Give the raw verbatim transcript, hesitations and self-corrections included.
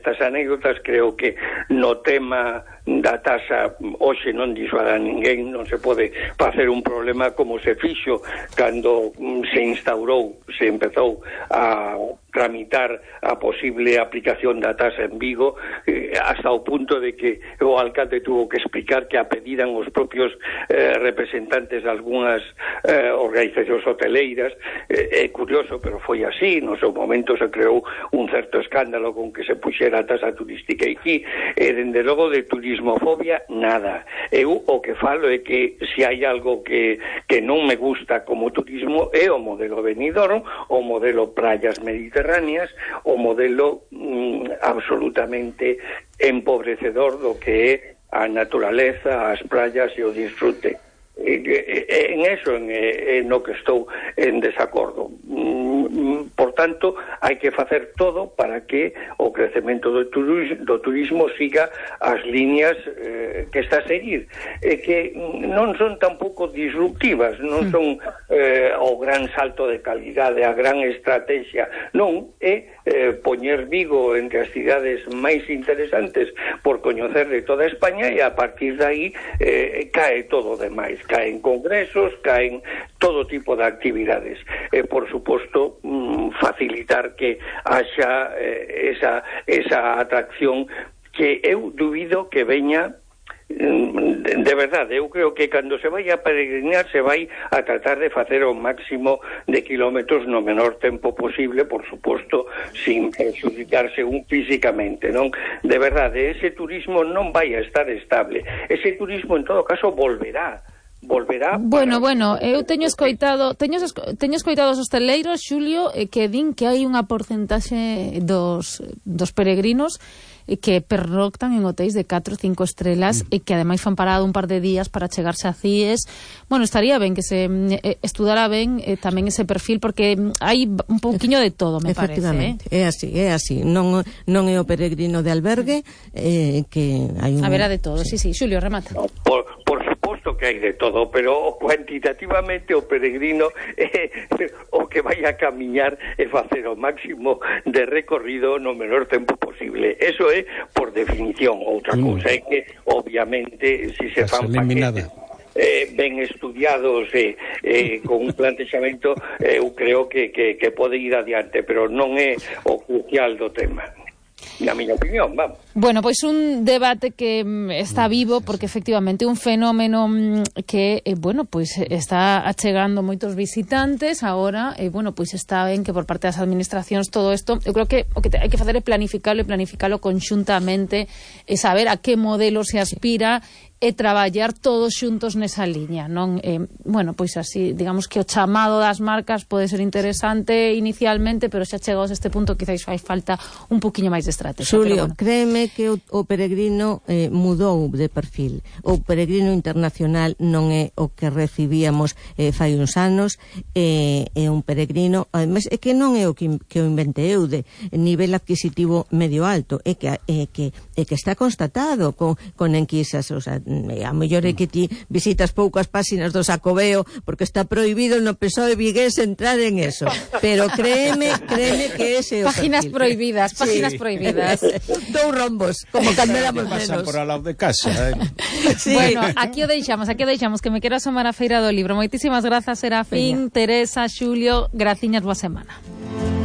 estas anécdotas. Creo que no tema da taxa hoxe non disuada a ninguén, non se pode facer un problema como se fixo cando se instaurou, se empezou a tramitar a posible aplicación da taxa en Vigo, eh, hasta o punto de que o alcalde tuvo que explicar que a pediran os propios eh, representantes de algunhas eh, organizacións hoteleiras. É eh, curioso, pero foi así. No seu momento se creou un certo escándalo con que se puxera a taxa turística aquí, e dende logo de turismofobia nada. Eu o que falo é que se hai algo que, que non me gusta como turismo é o modelo Benidorm, o modelo praias mediterráneas, o modelo mm, absolutamente empobrecedor do que é a naturaleza, as praias e o disfrute. En eso en, en no que estou en desacordo. Por tanto, hai que facer todo para que o crecemento do turismo, do turismo siga as líneas eh, que está a seguir, e que non son tampouco disruptivas, non son eh, o gran salto de calidade, a gran estrategia, non, é eh, poñer Vigo entre as cidades máis interesantes por coñecer de toda España, e a partir de aí eh, cae todo o demais. Caen congresos, caen todo tipo de actividades. E, por suposto, facilitar que haxa eh, esa, esa atracción que eu dubido que veña de verdade. Eu creo que cando se vai a peregrinar se vai a tratar de facer o máximo de kilómetros no menor tempo posible, por suposto, sin perjudicarse un físicamente, non? De verdade, ese turismo non vai a estar estable. Ese turismo, en todo caso, volverá. volverá. Bueno, bueno, eu teño escoitado, teño, teño escoitado os hosteleiros, Xulio, que din que hai unha porcentaxe dos, dos peregrinos que pernoctan en hotéis de catro ou cinco estrelas mm. e que ademais fan parado un par de días para chegarse a Cies. Bueno, estaría ben que se eh, estudara ben eh, tamén ese perfil, porque hai un pouquiño de todo, me parece. Efectivamente, eh? é así, é así. Non, non é o peregrino de albergue, eh, que hai un... A vera de todo, sí, sí. Xulio, remata. No, por, por suposto que hai de todo, pero cuantitativamente o peregrino é o que vai a camiñar e facer o máximo de recorrido no menor tempo posible. Eso é por definición. Outra mm. cousa é que, obviamente, si se fan paquetes eh, ben estudiados e eh, eh, con un plantexamento, eh, eu creo que, que, que pode ir adiante, pero non é o crucial do tema. Na miña opinión, vamos. Bueno, pois un debate que está vivo, porque efectivamente un fenómeno que, eh, bueno, pois está achegando moitos visitantes agora, e, eh, bueno, pois está ben que por parte das administracións todo isto, eu creo que o que hai que facer é planificalo e planificalo conxuntamente, e saber a que modelo se aspira e traballar todos xuntos nesa liña, non? Eh, bueno, pois así, digamos que o chamado das marcas pode ser interesante inicialmente, pero xa chegados a este punto quizás fai falta un poquinho máis de estrategia. Xulio, bueno. créeme que o, o peregrino eh, mudou de perfil. O peregrino internacional non é o que recibíamos eh, fai uns anos, é eh, un peregrino, además, é que non é o que, que o inventei eu, de nivel adquisitivo medio alto, é que, é que, é que está constatado con, con enquisas, o sea, a mellor é que ti visitas poucas páxinas do Xacobeo porque está prohibido no P S O E vigués entrar en eso, pero créeme, créeme que ese é o páginas perfil. prohibidas, páginas sí. prohibidas. Dous rombos, como cando éramos menos. Pasan por al lado de casa, eh? Sí. Bueno, aquí o deixamos, aquí o deixamos, que me quero asomar a Feira do Libro. Moitísimas grazas, Serafín, Teresa, Xulio, graciñas, boa semana.